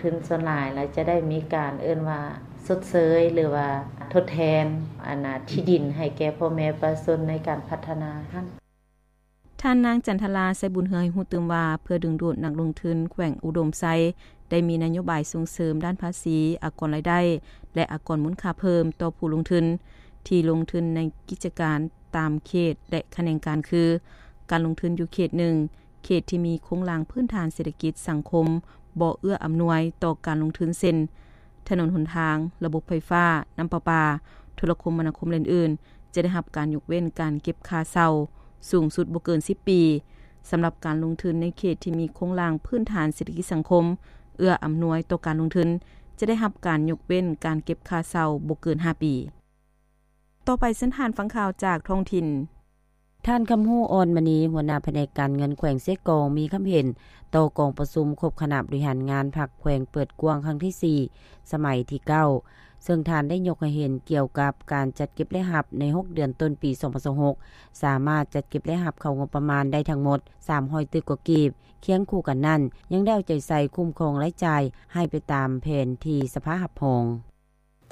ທຶນສ່ວນຫຼາຍແລ້ວຈະໄດ້ມີການເອີ້ນວ່າຊົດເຊີຍ ຫຼືວ່າທົດແທນອັນນ່າທີ່ດິນໃຫ້ແກ່ພໍ່ແມ່ປະຊາຊົນໃນການພັດທະນາຫັ້ນ. ທ່ານນາງ ຈັນທະລາ ໄຊບຸນເຮືອງ ໃຫ້ຮູ້ຕື່ມວ່າ ເພື່ອດຶງດູດນັກລົງທຶນແຂວງອຸດົມໄຊ ໄດ້ມີນະໂຍບາຍສົ່ງເສີມດ້ານພາສີ, ອາກອນລາຍໄດ້ ແລະ ອາກອນມູນຄ່າເພີ່ມຕໍ່ຜູ້ລົງທຶນ ທີ່ລົງທຶນໃນກິດຈະການຕາມເຂດ ແລະ ຂະແໜງການ ຄື ການລົງທຶນຢູ່ເຂດໜຶ່ງ ເຂດທີ່ມີໂຄງລ່າງພື້ນຖານເສດຖະກິດສັງຄົມບໍ່ເອື້ອອຳນວຍຕໍ່ການລົງທຶນ ເຊັ່ນ ຖະໜົນຫົນທາງ, ລະບົບໄຟຟ້າ, ນ້ຳປະປາ, ໂທລະຄົມມະນາຄົມ ແລະ ອື່ນໆ ຈະໄດ້ຮັບການຍົກເວັ້ນການເກັບຄ່າເຊົ່າສູງສຸດບໍ່ເກີນສິບປີ. ສຳລັບການລົງທຶນໃນເຂດທີ່ມີໂຄງລ່າງພື້ນຖານເສດຖະກິດສັງຄົມເອື້ອອຳນວຍຕໍ່ການລົງທຶນ ຈະໄດ້ຮັບການຍົກເວັ້ນການເກັບຄ່າເຊົ່າບໍ່ເກີນຫ້າປີ. ຕໍ່ໄປເຊີນທ່ານຟັງຂ່າວຈາກທ້ອງຖິ່ນ. ທ່ານ ຄຳຮູ້ ອ່ອນມະນີ ຫົວໜ້າພະແນກການເງິນແຂວງເຊກອງ ມີຄຳເຫັນຕໍ່ກອງປະຊຸມຄົບຄະນະບໍລິຫານງານພັກແຂວງເປີດກວ້າງຄັ້ງທີສີ່ ສະໄໝທີເກົ້າ ເຊິ່ງທ່ານໄດ້ຍົກໃຫ້ເຫັນກ່ຽວກັບການຈັດເກັບລາຍຮັບໃນຫົກເດືອນຕົ້ນປີສອງພັນຊາວຫົກ ສາມາດຈັດເກັບລາຍຮັບເຂົ້າງົບປະມານໄດ້ທັງໝົດສາມຮ້ອຍຕື້ກວ່າກີບ. ຄຽງຄູ່ກັນນັ້ນ ຍັງໄດ້ເອົາໃຈໃສ່ຄຸ້ມຄອງລາຍຈ່າຍໃຫ້ໄປຕາມແຜນທີ່ສະພາຮັບຮອງ.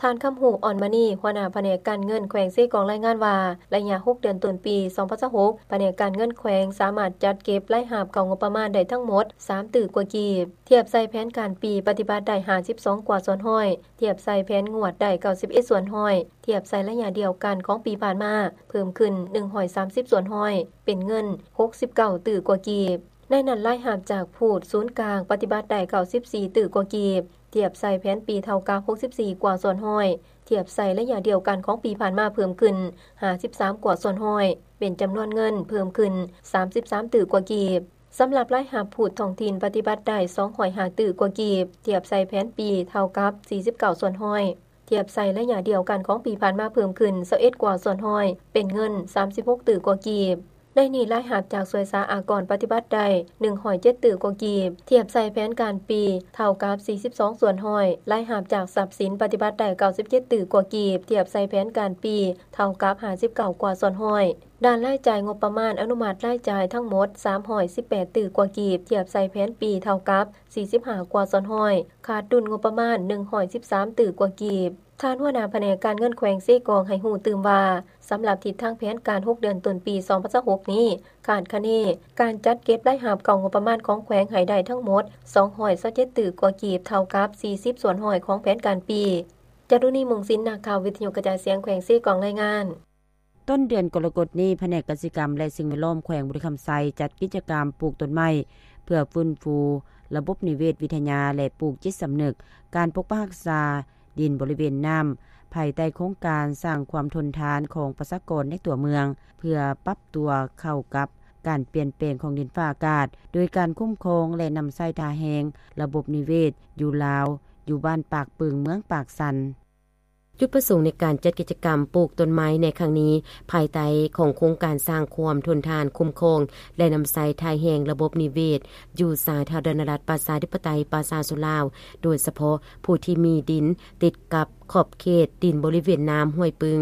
ທ່ານ ຄຳຮູ້ ອ່ອນມະນີ ຫົວໜ້າພະແນກການເງິນແຂວງເຊກອງລາຍງານວ່າ ໄລຍະຫົກເດືອນຕົ້ນປີສອງພັນຊາວຫົກ ພະແນກການເງິນແຂວງສາມາດຈັດເກັບລາຍຮັບເຂົ້າງົບປະມານໄດ້ທັງໝົດສາມຕື້ກວ່າກີບ ທຽບໃສ່ແຜນການປີປະຕິບັດໄດ້ຫ້າສິບສອງກວ່າສ່ວນຮ້ອຍ, ທຽບໃສ່ແຜນງວດໄດ້ເກົ້າສິບເອັດສ່ວນຮ້ອຍ, ທຽບໃສ່ໄລຍະດຽວກັນຂອງປີຜ່ານມາເພີ່ມຂຶ້ນໜຶ່ງຮ້ອຍສາມສິບສ່ວນຮ້ອຍ ເປັນເງິນຫົກສິບເກົ້າຕື້ກວ່າກີບ. ໃນນັ້ນລາຍຮັບຈາກພູດສູນກາງປະຕິບັດໄດ້ເກົ້າສິບສີ່ຕື້ກວ່າກີບ, ທຽບໃສ່ແຜນປີເທົ່າກັບຫົກສິບສີ່ກວ່າສ່ວນຮ້ອຍ, ທຽບໃສ່ໄລຍະດຽວກັນຂອງປີຜ່ານມາເພີ່ມຂຶ້ນຫ້າສິບສາມກວ່າສ່ວນຮ້ອຍ ເປັນຈຳນວນເງິນເພີ່ມຂຶ້ນສາມສິບສາມຕື້ກວ່າກີບ. ສຳລັບລາຍຮັບພູດທ້ອງຖິ່ນປະຕິບັດໄດ້ສອງຮ້ອຍຫ້າຕື້ກວ່າກີບ, ທຽບໃສ່ແຜນປີເທົ່າກັບສີ່ສິບເກົ້າສ່ວນຮ້ອຍ, ທຽບໃສ່ໄລຍະດຽວກັນຂອງປີຜ່ານມາເພີ່ມຂຶ້ນຊາວເອັດກວ່າສ່ວນຮ້ອຍ ເປັນເງິນສາມສິບຫົກຕື້ກວ່າກີບ. ໃນນີ້ລາຍຮັບຈາກສ່ວຍສາອາກອນປະຕິບັດໄດ້ໜຶ່ງຮ້ອຍເຈັດຕື້ກວ່າກີບ, ທຽບໃສ່ແຜນການປີເທົ່າກັບສີ່ສິບສອງສ່ວນຮ້ອຍ, ລາຍຮັບຈາກຊັບສິນປະຕິບັດໄດ້ເກົ້າສິບເຈັດຕື້ກວ່າກີບ, ທຽບໃສ່ແຜນການປີເທົ່າກັບຫ້າສິບເກົ້າກວ່າສ່ວນຮ້ອຍ. ດ້ານລາຍຈ່າຍງົບປະມານອະນຸມັດລາຍຈ່າຍທັງໝົດສາມຮ້ອຍສິບແປດຕື້ກວ່າກີບ, ທຽບໃສ່ແຜນປີເທົ່າກັບສີ່ສິບຫ້າກວ່າສ່ວນຮ້ອຍ, ຂາດດຸນງົບປະມານໜຶ່ງຮ້ອຍສິບສາມຕື້ກວ່າກີບ. ທ່ານຫົວໜ້າພະແນກການເງິນແຂວງເຊກອງໃຫ້ຮູ້ຕື່ມວ່າ ສຳລັບທິດທາງແຜນການຫົກເດືອນຕົ້ນປີສອງພັນຊາວຫົກນີ້ ຄາດຄະເນການຈັດເກັບລາຍຮັບເຂົ້າງົບປະມານຂອງແຂວງໃຫ້ໄດ້ທັງໝົດສອງຮ້ອຍຊາວເຈັດຕື້ກວ່າກີບ, ເທົ່າກັບສີ່ສິບສ່ວນຮ້ອຍຂອງແຜນການປີ. ຈາລຸນີ ມຸງສິນ ນັກຂ່າວວິທະຍຸກະຈາຍສຽງແຂວງເຊກອງລາຍງານ. ຕົ້ນເດືອນກໍລະກົດນີ້ ພະແນກກະສິກຳ ແລະ ສິ່ງແວດລ້ອມແຂວງບໍລິຄຳໄຊ ຈັດກິດຈະກຳປູກຕົ້ນໄມ້ ເພື່ອຟື້ນຟູລະບົບນິເວດວິທະຍາ ແລະ ປູກຈິດສຳນຶກການປົກປັກຮັກສາດິນບໍລິເວນນ້ຳ ພາຍໃຕ້ໂຄງການສ້າງຄວາມທົນທານຂອງປະຊາກອນໃນຕົວເມືອງ ເພື່ອປັບຕົວເຂົ້າກັບການປ່ຽນແປງຂອງດິນຟ້າອາກາດ ໂດຍການຄຸ້ມຄອງ ແລະ ນຳໃຊ້ທ່າແຮງລະບົບນິເວດຢູ່ລາວ ຢູ່ບ້ານປາກປຶງ ເມືອງປາກຊັນ. ຈຸດປະສົງໃນການຈັດກິດຈະກຳປູກຕົ້ນໄມ້ໃນຄັ້ງນີ້ ພາຍໃຕ້ຂອງໂຄງການສ້າງຄວາມທົນທານ, ຄຸ້ມຄອງ ແລະ ນຳໃຊ້ທ່າແຮງລະບົບນິເວດ ຢູ່ສາທາລະນະລັດປະຊາທິປະໄຕປະຊາຊົນລາວ, ໂດຍສະເພາະຜູ້ທີ່ມີດິນຕິດກັບຂອບເຂດດິນບໍລິເວນນ້ຳຫ້ວຍປຶງ.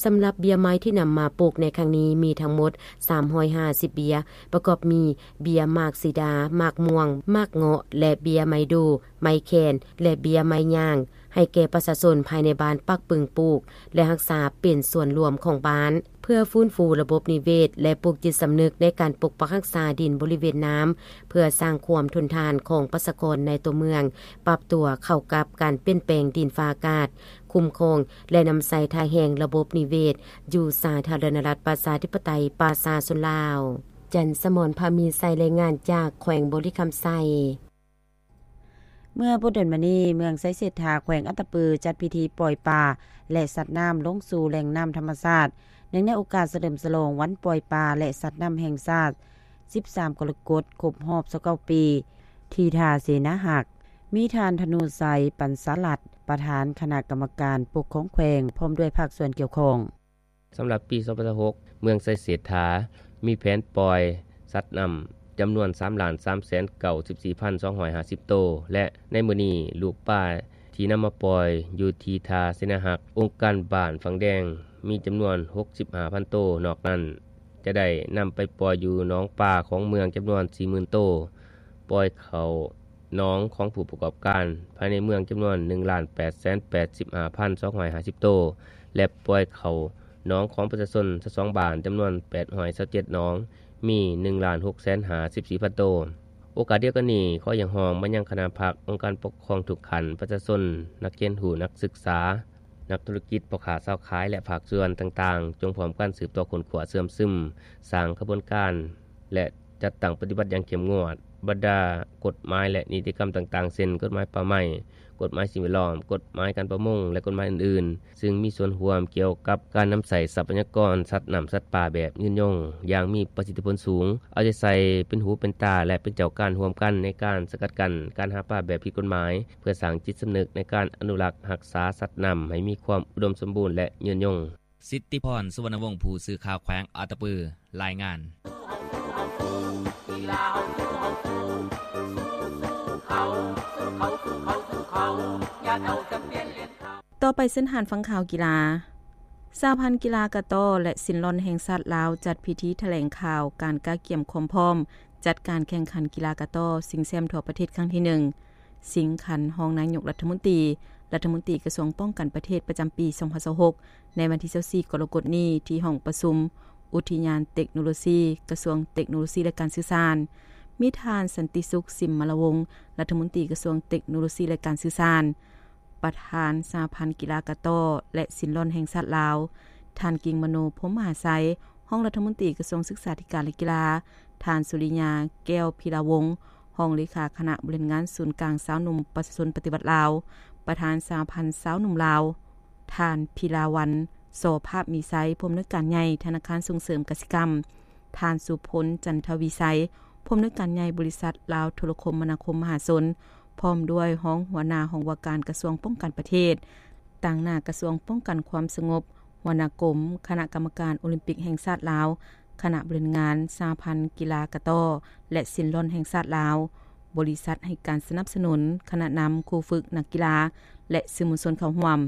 ສຳລັບເບ້ຍໄມ້ທີ່ນຳມາປູກໃນຄັ້ງນີ້ມີທັງໝົດສາມຮ້ອຍຫ້າສິບເບ້ຍ, ປະກອບມີເບ້ຍໝາກສີດາ, ໝາກມ່ວງ, ໝາກເງາະ ແລະ ເບ້ຍໄມ້ດູ່, ໄມ້ແຂນ ແລະ ເບ້ຍໄມ້ຍ່າງ ໃຫ້ແກ່ປະຊາຊົນພາຍໃນບ້ານປາກປຶງປູກ ແລະ ຮັກສາເປັນສ່ວນລວມຂອງບ້ານ ເພື່ອຟື້ນຟູລະບົບນິເວດ ແລະ ປູກຈິດສຳນຶກໃນການປົກປັກຮັກສາດິນບໍລິເວນນ້ຳ ເພື່ອສ້າງຄວາມທົນທານຂອງປະຊາກອນໃນຕົວເມືອງ, ປັບຕົວເຂົ້າກັບການປ່ຽນແປງດິນຟ້າອາກາດ, ຄຸ້ມຄອງ ແລະ ນຳໃຊ້ທ່າແຮງລະບົບນິເວດ ຢູ່ສາທາລະນະລັດປະຊາທິປະໄຕປະຊາຊົນລາວ. ຈັນສະໝອນ ພາມີໄຊ ລາຍງານຈາກແຂວງບໍລິຄຳໄຊ. ເມື່ອບໍ່ດົນມານີ້ ເມືອງໄຊເສດຖາ ແຂວງອັດຕະປື ຈັດພິທີປ່ອຍປາ ແລະ ສັດນ້ຳລົງສູ່ແຫຼ່ງນ້ຳທຳມະຊາດ ເນື່ອງໃນໂອກາດສະເຫຼີມສະຫຼອງວັນປ່ອຍປາ ແລະ ສັດນ້ຳແຫ່ງຊາດ ສິບສາມ ກໍລະກົດ ຄົບຮອບ ຊາວເກົ້າ ປີ ທີ່ທ່າເສນາຮັກ ມີທ່ານ ທະນູໄຊ ປັນສາລັດ ປະທານຄະນະກຳມະການປົກຄອງແຂວງ ພ້ອມດ້ວຍພາກສ່ວນກ່ຽວຂ້ອງ. ສຳລັບປີສອງພັນຊາວຫົກ ເມືອງໄຊເສດຖາ ມີແຜນປ່ອຍສັດນ້ຳຈຳນວນສາມລ້ານສາມແສນເກົ້າສິບສີ່ພັນສອງຮ້ອຍຫ້າສິບໂຕ ແລະ ໃນມື້ນີ້ ລູກປາທີ່ນຳມາປ່ອຍຢູ່ທີ່ທ່າເສນາຮັກ ອົງການບ້ານຝັ່ງແດງ ມີຈຳນວນຫົກສິບຫ້າພັນໂຕ, ນອກນັ້ນຈະໄດ້ນຳໄປປ່ອຍຢູ່ໜອງປາຂອງເມືອງຈຳນວນສີ່ໝື່ນໂຕ, ປ່ອຍເຂົ້າ ໜອງຂອງຜູ້ປະກອບການພາຍໃນເມືອງຈຳນວນ ໜຶ່ງລ້ານແປດແສນແປດສິບຫ້າພັນສອງຮ້ອຍຫ້າສິບໂຕ ແລະ ປ່ອຍເຂົ້າໜອງຂອງປະຊາຊົນ ຊາວສອງບ້ານ ຈຳນວນ ແປດຮ້ອຍຊາວເຈັດໜອງ, ມີ ໜຶ່ງລ້ານຫົກແສນຫ້າສິບສີ່ພັນໂຕ. ໂອກາດດຽວກັນນີ້ ຂໍຮຽກຮ້ອງມາຍັງຄະນະພັກ, ອົງການປົກຄອງທຸກຂັ້ນ, ປະຊາຊົນ, ນັກຮຽນຮູ້, ນັກສຶກສາ, ນັກທຸລະກິດ, ພໍ່ຄ້າຊາວຂາຍ ແລະ ພາກສ່ວນຕ່າງໆ ຈົ່ງພ້ອມກັນສືບຕໍ່ຄົ້ນຄວ້າເຊື່ອມຊຶມ, ສ້າງຂະບວນການ ແລະ ຈັດຕັ້ງປະຕິບັດຢ່າງເຂັ້ມງວດ ບັນດາກົດໝາຍ ແລະ ນິຕິກຳຕ່າງໆ ເຊັ່ນ ກົດໝາຍປ່າໄມ້, ກົດໝາຍສິ່ງແວດລ້ອມ, ກົດໝາຍການປະມົງ ແລະ ກົດໝາຍອື່ນໆ ຊຶ່ງມີສ່ວນຮ່ວມກ່ຽວກັບການນຳໃຊ້ຊັບພະຍາກອນສັດນ້ຳສັດປ່າແບບຍືນຍົງ ຢ່າງມີປະສິດທິຜົນສູງ, ເອົາໃຈໃສ່ເປັນຫູເປັນຕາ ແລະ ເປັນເຈົ້າການຮ່ວມກັນໃນການສະກັດກັ້ນການຫາປາແບບຜິດກົດໝາຍ ເພື່ອສ້າງຈິດສຳນຶກໃນການອະນຸລັກຮັກສາສັດນ້ຳໃຫ້ມີຄວາມອຸດົມສົມບູນ ແລະ ຍືນຍົງ. ສິດທິພອນ ສຸວັນນະວົງ ຜູ້ສື່ຂ່າວແຂວງອັດຕະປື ລາຍງານ. ຕໍ່ໄປເຊີນທ່ານຟັງຂ່າວກິລາ. ສະຫະພັນກິລາກະຕໍ້ ແລະ ສິນລ່ອນແຫ່ງຊາດລາວ ຈັດພິທີຖະແຫຼງຂ່າວການກະກຽມຄວາມພ້ອມຈັດການແຂ່ງຂັນກິລາກະຕໍ້ຊິງແຊ້ມທົ່ວປະເທດຄັ້ງທີໜຶ່ງ ຊິງຂັນຮອງນາຍົກລັດຖະມົນຕີ, ລັດຖະມົນຕີກະຊວງປ້ອງກັນປະເທດປະຈຳປີສອງພັນຊາວຫົກ ໃນວັນທີຊາວສີ່ກໍລະກົດນີ້ ທີ່ຫ້ອງປະຊຸມອຸທິຍານເຕັກໂນໂລຊີ ກະຊວງເຕັກໂນໂລຊີ ແລະ ການສື່ສານ. ມີທ່ານ ສັນຕິສຸກ ສິມມະລະວົງ ລັດຖະມົນຕີກະຊວງເຕັກໂນໂລຊີ ແລະ ການສື່ສານ, ປະທານສະຫະພັນກິລາກະຕໍ້ ແລະ ສິນລ່ອນແຫ່ງຊາດລາວ, ທ່ານ ກິງມະໂນ ພົມມະຫາໄຊ ຮອງລັດຖະມົນຕີກະຊວງສຶກສາທິການ ແລະ ກິລາ, ທ່ານ ສຸລິຍາ ແກ້ວພິລາວົງ ຮອງເລຂາຄະນະບໍລິຫານງານສູນກາງຊາວໜຸ່ມປະຊາຊົນປະຕິວັດລາວ, ປະທານສະຫະພັນຊາວໜຸ່ມລາວ, ທ່ານ ພິລາວັນ ສໍພາບມີໄຊ ຜູ້ອຳນວຍການໃຫຍ່ທະນາຄານສົ່ງເສີມກະສິກຳ, ທ່ານ ສຸພົນ ຈັນທະວີໄຊ ຜູ້ອຳນວຍການໃຫຍ່ບໍລິສັດລາວໂທລະຄົມມະນາຄົມມະຫາຊົນ ພ້ອມດ້ວຍຮອງຫົວໜ້າຫ້ອງວ່າການກະຊວງປ້ອງກັນປະເທດ, ຕາງໜ້າກະຊວງປ້ອງກັນຄວາມສະຫງົບ, ຫົວໜ້າກົມຄະນະກຳມະການໂອລິມປິກແຫ່ງຊາດລາວ, ຄະນະບໍລິຫານງານສະຫະພັນກິລາກະຕໍ້ ແລະ ສິນລ່ອນແຫ່ງຊາດລາວ, ບໍລິສັດໃຫ້ການສະໜັບສະໜູນ, ຄະນະນຳ, ຄູຝຶກ, ນັກກິລາ ແລະ ສື່ມວນຊົນເຂົ້າຮ່ວມ.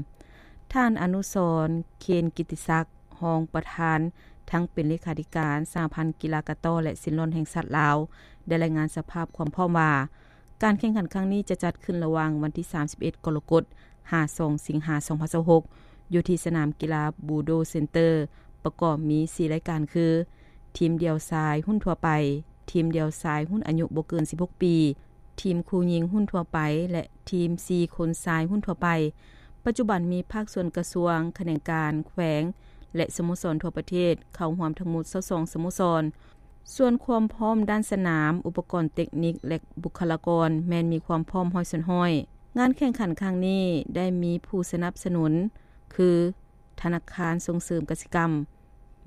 ທ່ານ ອະນຸສອນ ເຄນກິດຕິສັກ ຮອງປະທານ ທັງເປັນເລຂາທິການສະຫະພັນກິລາກະຕໍ້ ແລະ ສິນລ່ອນແຫ່ງຊາດລາວ ໄດ້ລາຍງານສະພາບຄວາມພ້ອມວ່າ ການແຂ່ງຂັນຄັ້ງນີ້ຈະຈັດຂຶ້ນລະຫວ່າງວັນທີສາມສິບເອັດກໍລະກົດ ຫາ ສອງສິງຫາ ສອງພັນຊາວຫົກ ຢູ່ທີ່ສະໜາມກິລາບູໂດເຊັນເຕີ ປະກອບມີສີ່ລາຍການຄື ທີມດ່ຽວຊາຍຮຸ້ນທົ່ວໄປ, ທີມດ່ຽວຊາຍຮຸ້ນອາຍຸບໍ່ເກີນສິບຫົກປີ, ທີມຄູ່ຍິງຮຸ້ນທົ່ວໄປ ແລະ ທີມສີ່ຄົນຊາຍຮຸ້ນທົ່ວໄປ. ປັດຈຸບັນມີພາກສ່ວນກະຊວງ, ຂະແໜງການ, ແຂວງ ແລະ ສະໂມສອນທົ່ວປະເທດເຂົ້າຮ່ວມທັງໝົດຊາວສອງສະໂມສອນ. ສ່ວນຄວາມພ້ອມດ້ານສະໜາມ, ອຸປະກອນເຕັກນິກ ແລະ ບຸກຄະລາກອນແມ່ນມີຄວາມພ້ອມຮ້ອຍສ່ວນຮ້ອຍ. ງານແຂ່ງຂັນຄັ້ງນີ້ໄດ້ມີຜູ້ສະໜັບສະໜູນຄື ທະນາຄານສົ່ງເສີມກະສິກຳ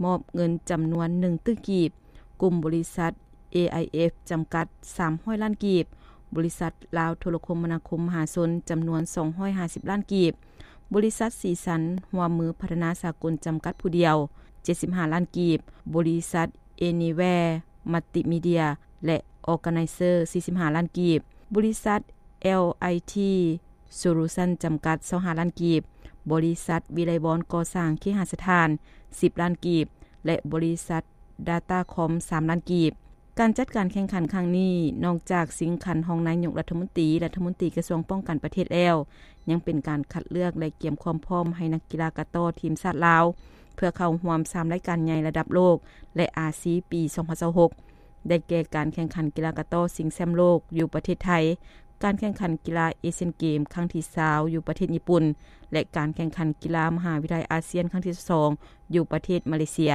ມອບເງິນຈຳນວນໜຶ່ງຕື້ກີບ, ກຸ່ມບໍລິສັດ ເອໄອເອັຟ ຈຳກັດ ສາມຮ້ອຍລ້ານກີບ, ບໍລິສັດລາວໂທລະຄົມມະນາຄົມມະຫາຊົນ ຈຳນວນສອງຮ້ອຍຫ້າສິບລ້ານກີບ, ບໍລິສັດສີສັນຮ່ວມມືພັດທະນາສາກົນ ຈຳກັດຜູ້ດຽວ ເຈັດສິບຫ້າລ້ານກີບ, ບໍລິສັດ Anywhere Multimedia ແລະ Organizer ສີ່ສິບຫ້າລ້ານກີບ, ບໍລິສັດ ແອລໄອທີ Solution ຈຳກັດ ຊາວຫ້າລ້ານກີບ, ບໍລິສັດວິໄລວອນກໍ່ສ້າງເຄຫະສະຖານ ສິບລ້ານກີບ ແລະ ບໍລິສັດ Datacom ສາມລ້ານກີບ. ການຈັດການແຂ່ງຂັນຄັ້ງນີ້ ນອກຈາກຊິງຂັນຮອງນາຍົກລັດຖະມົນຕີ, ລັດຖະມົນຕີກະຊວງປ້ອງກັນປະເທດແລ້ວ, ຍັງເປັນການຄັດເລືອກ ແລະ ກຽມຄວາມພ້ອມໃຫ້ນັກກິລາກະຕໍ້ທີມຊາດລາວ ເພື່ອເຂົ້າຮ່ວມສາມລາຍການໃຫຍ່ລະດັບໂລກ ແລະ ອາຊີ ປີສອງພັນຊາວຫົກ ໄດ້ແກ່ການແຂ່ງຂັນກິລາກະຕໍ້ຊິງແຊ້ມໂລກຢູ່ປະເທດໄທ, ການແຂ່ງຂັນກິລາເອຊຽນເກມຄັ້ງທີຊາວຢູ່ປະເທດຍີ່ປຸ່ນ ແລະ ການແຂ່ງຂັນກິລາມະຫາວິທະຍາໄລອາຊຽນຄັ້ງທີຊາວສອງຢູ່ປະເທດມາເລເຊຍ.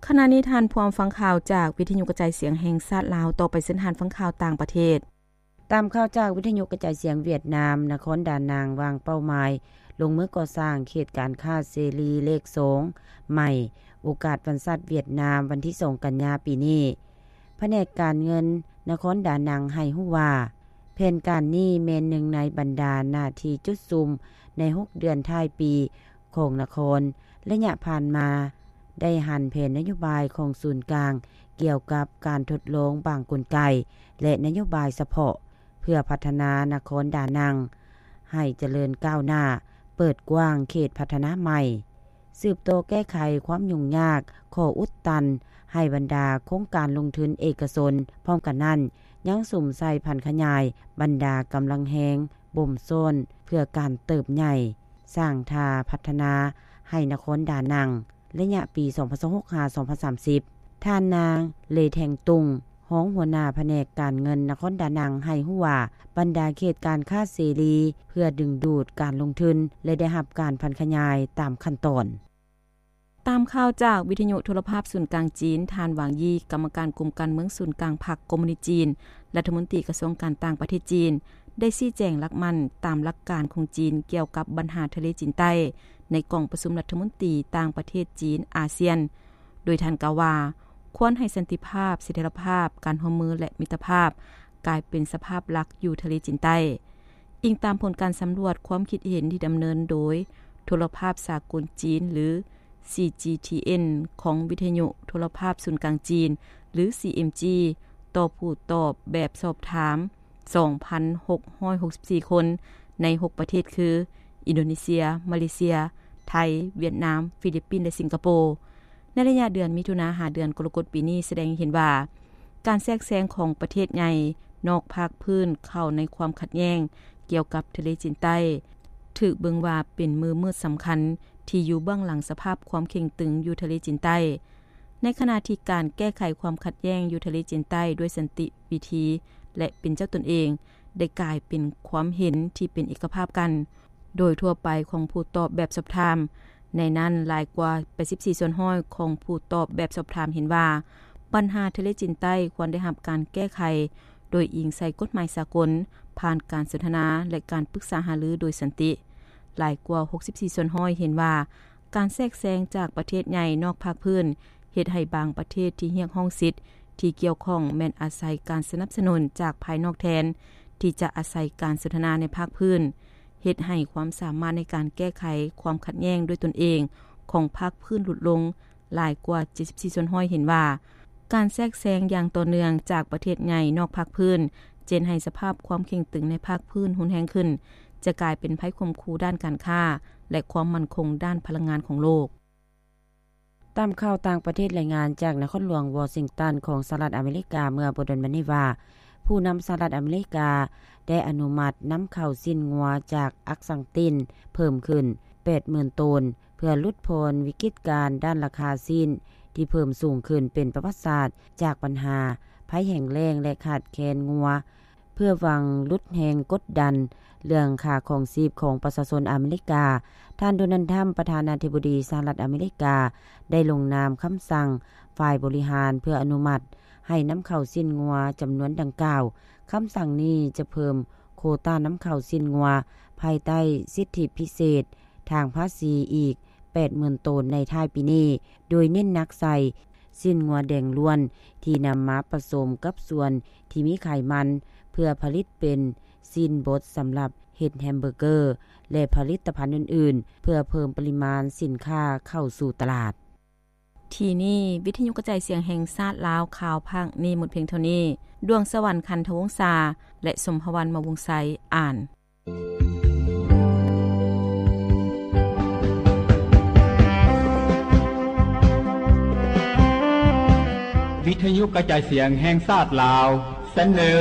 ຂະນະນີ້ທ່ານພວມຟັງຂ່າວຈາກວິທະຍຸກະຈາຍສຽງແຫ່ງຊາດລາວ, ຕໍ່ໄປເຊີນທ່ານຟັງຂ່າວຕ່າງປະເທດ. ຕາມຂ່າວຈາກວິທະຍຸກະຈາຍສຽງຫວຽດນາມ, ນະຄອນດານັງວາງເປົ້າໝາຍລົງມືກໍ່ສ້າງເຂດການຄ້າເສລີເລກສອງໃໝ່, ໂອກາດວັນຊາດຫວຽດນາມ ວັນທີສອງກັນຍາປີນີ້. ພະແນກການເງິນນະຄອນດານັງໃຫ້ຮູ້ວ່າ ແຜນການນີ້ແມ່ນໜຶ່ງໃນບັນດາໜ້າທີ່ຈຸດສຸມໃນຫົກເດືອນທ້າຍປີຂອງນະຄອນ. ໄລຍະຜ່ານມາໄດ້ຫັນແຜນນະໂຍບາຍຂອງສູນກາງ ກ່ຽວກັບການທົດລອງບາງກົນໄກ ແລະ ນະໂຍບາຍສະເພາະ ເພື່ອພັດທະນານະຄອນດານັງໃຫ້ຈະເລີນກ້າວໜ້າ, ເປີດກວ້າງເຂດພັດທະນາໃໝ່. ສືບຕໍ່ແກ້ໄຂຄວາມຫຍຸ້ງຍາກ, ຂໍ້ອຸດຕັນໃຫ້ບັນດາໂຄງການລົງທຶນເອກະຊົນ. ພ້ອມກັນນັ້ນ, ຍັງສຸມໃສ່ຜັນຂະຫຍາຍບັນດາກຳລັງແຮງບົ່ມຊ້ອນເພື່ອການເຕີບໃຫຍ່, ສ້າງທ່າພັດທະນາໃຫ້ນະຄອນດານັງ ໄລຍະປີສອງພັນຊາວຫົກຫາສອງພັນສາມສິບ. ທ່ານນາງ ເລແທງຕຸງ, ຮອງຫົວໜ້າພະແນກການເງິນນະຄອນດານັງ ໃຫ້ຮູ້ວ່າ ບັນດາເຂດການຄ້າເສລີເພື່ອດຶງດູດການລົງທຶນ ແລະ ໄດ້ຮັບການຜັນຂະຫຍາຍຕາມຂັ້ນຕອນ. ຕາມຂ່າວຈາກວິທະຍຸໂທລະພາບສູນກາງຈີນ, ທ່ານ ຫວາງ ຢີ ກຳມະການກົມການເມືອງສູນກາງພັກຄອມມູນິດຈີນ, ລັດຖະມົນຕີກະຊວງການຕ່າງປະເທດຈີນ ໄດ້ຊີ້ແຈງຫຼັກໝັ້ນຕາມຫຼັກການຂອງຈີນກ່ຽວກັບບັນຫາທະເລຈີນໃຕ້ ໃນກອງປະຊຸມລັດຖະມົນຕີຕ່າງປະເທດຈີນອາຊຽນ, ໂດຍທ່ານກ່າວວ່າ ຄວນໃຫ້ສັນຕິພາບ, ສະຖຽນລະພາບ, ການຮ່ວມມື ແລະ ມິດຕະພາບ ກາຍເປັນສະພາບຫຼັກຢູ່ທະເລຈີນໃຕ້. ອີງຕາມຜົນການສຳຫຼວດຄວາມຄິດເຫັນທີ່ດຳເນີນໂດຍໂທລະພາບສາກົນຈີນ ຫຼື ຊີຈີທີເອັນ ຂອງວິທະຍຸໂທລະພາບສູນກາງຈີນ ຫຼື ຊີເອັມຈີ ຕໍ່ຜູ້ຕອບແບບສອບຖາມ ສອງພັນຫົກຮ້ອຍຫົກສິບສີ່ຄົນ ໃນຫົກປະເທດຄື ອິນໂດເນເຊຍ, ມາເລເຊຍ, ໄທ, ຫວຽດນາມ, ຟີລິບປິນ ແລະ ສິງກະໂປ. ໃນໄລຍະເດືອນມິຖຸນາຫາເດືອນກໍລະກົດປີນີ້ ສະແດງໃຫ້ເຫັນວ່າ ການແຊກແຊງຂອງປະເທດໃຫຍ່ນອກພາກພື້ນເຂົ້າໃນຄວາມຂັດແຍ່ງກ່ຽວກັບທະເລຈີນໃຕ້ ຖືກເບິ່ງວ່າເປັນມືມືດສຳຄັນທີ່ຢູ່ເບື້ອງຫຼັງສະພາບຄວາມເຄັ່ງຕຶງຢູ່ທະເລຈີນໃຕ້, ໃນຂະນະທີ່ການແກ້ໄຂຄວາມຂັດແຍ່ງຢູ່ທະເລຈີນໃຕ້ດ້ວຍສັນຕິວິທີ ແລະ ເປັນເຈົ້າຕົນເອງ ໄດ້ກາຍເປັນຄວາມເຫັນທີ່ເປັນເອກະພາບກັນ ໂດຍທົ່ວໄປຂອງຜູ້ຕອບແບບສອບຖາມ. ໃນນັ້ນ, ຫຼາຍກວ່າແປດສິບສີ່ສ່ວນຮ້ອຍຂອງຜູ້ຕອບແບບສອບຖາມເຫັນວ່າ ບັນຫາທະເລຈີນໃຕ້ຄວນໄດ້ຮັບການແກ້ໄຂໂດຍອີງໃສ່ກົດໝາຍສາກົນ, ຜ່ານການສົນທະນາ ແລະ ການປຶກສາຫາລືໂດຍສັນຕິ. ຫຼາຍກວ່າຫົກສິບສີ່ສ່ວນຮ້ອຍເຫັນວ່າ ການແຊກແຊງຈາກປະເທດໃຫຍ່ນອກພາກພື້ນ ເຮັດໃຫ້ບາງປະເທດທີ່ຮຽກຮ້ອງສິດທີ່ກ່ຽວຂ້ອງແມ່ນອາໄສການສະໜັບສະໜູນຈາກພາຍນອກແທນທີ່ຈະອາໄສການສົນທະນາໃນພາກພື້ນ, ເຮັດໃຫ້ຄວາມສາມາດໃນການແກ້ໄຂຄວາມຂັດແຍ່ງດ້ວຍຕົນເອງຂອງພາກພື້ນຫຼຸດລົງ. ຫຼາຍກວ່າເຈັດສິບສີ່ສ່ວນຮ້ອຍເຫັນວ່າ ການແຊກແຊງຢ່າງຕໍ່ເນື່ອງຈາກປະເທດໃຫຍ່ນອກພາກພື້ນ ຈະເຮັດໃຫ້ສະພາບຄວາມເຄັ່ງຕຶງໃນພາກພື້ນຮຸນແຮງຂຶ້ນ, ຈະກາຍເປັນໄພຂົ່ມຂູ່ດ້ານການຄ້າ ແລະ ຄວາມໝັ້ນຄົງດ້ານພະລັງງານຂອງໂລກ. ຕາມຂ່າວຕ່າງປະເທດລາຍງານຈາກນະຄອນຫຼວງວໍຊິງຕັນຂອງສະຫະລັດອາເມລິກາເມື່ອບໍ່ດົນມານີ້ວ່າ ຜູ້ນຳສະຫະລັດອາເມລິກາໄດ້ອະນຸມັດນຳເຂົ້າຊີ້ນງົວຈາກອັກສັງຕິນເພີ່ມຂຶ້ນແປດໝື່ນໂຕນ ເພື່ອຫຼຸດຜ່ອນວິກິດການດ້ານລາຄາຊີ້ນທີ່ເພີ່ມສູງຂຶ້ນເປັນປະຫວັດສາດ ຈາກບັນຫາໄພແຫ້ງແລ້ງ ແລະ ຂາດແຄນງົວ. ເພື່ອຫວັງຫຼຸດແຮງກົດດັນເລື່ອງຄ່າຄອງຊີບຂອງປະຊາຊົນອາເມລິກາ, ທ່ານ ໂດນັລ ທຣຳ ປະທານາທິບໍດີສະຫະລັດອາເມລິກາ ໄດ້ລົງນາມຄຳສັ່ງຝ່າຍບໍລິຫານເພື່ອອະນຸມັດໃຫ້ນຳເຂົ້າຊີ້ນງົວຈຳນວນດັ່ງກ່າວ. ຄຳສັ່ງນີ້ຈະເພີ່ມໂຄຕານຳເຂົ້າຊີ້ນງົວພາຍໃຕ້ສິດທິພິເສດທາງພາສີອີກແປດໝື່ນໂຕນໃນທ້າຍປີນີ້, ໂດຍເນັ້ນໜັກໃສ່ຊີ້ນງົວແດງລ້ວນທີ່ນຳມາປະສົມກັບສ່ວນທີ່ມີໄຂມັນ ເພື່ອຜະລິດເປັນຊີ້ນບົດສຳລັບເຮັດແຮມເບີເກີ ແລະ ຜະລິດຕະພັນອື່ນໆ ເພື່ອເພີ່ມປະລິມານສິນຄ້າເຂົ້າສູ່ຕະຫຼາດ. ທີ່ນີ້ ວິທະຍຸກະຈາຍສຽງແຫ່ງຊາດລາວ ຂ່າວພາກນີ້ໝົດພຽງເທົ່ານີ້. ດວງສະຫວັນ ຄັນທະວົງສາ ແລະ ສົມພະວັນ ມະວົງໄຊ ອ່ານ. ວິທະຍຸກະຈາຍສຽງແຫ່ງຊາດລາວ ສະເໜີ.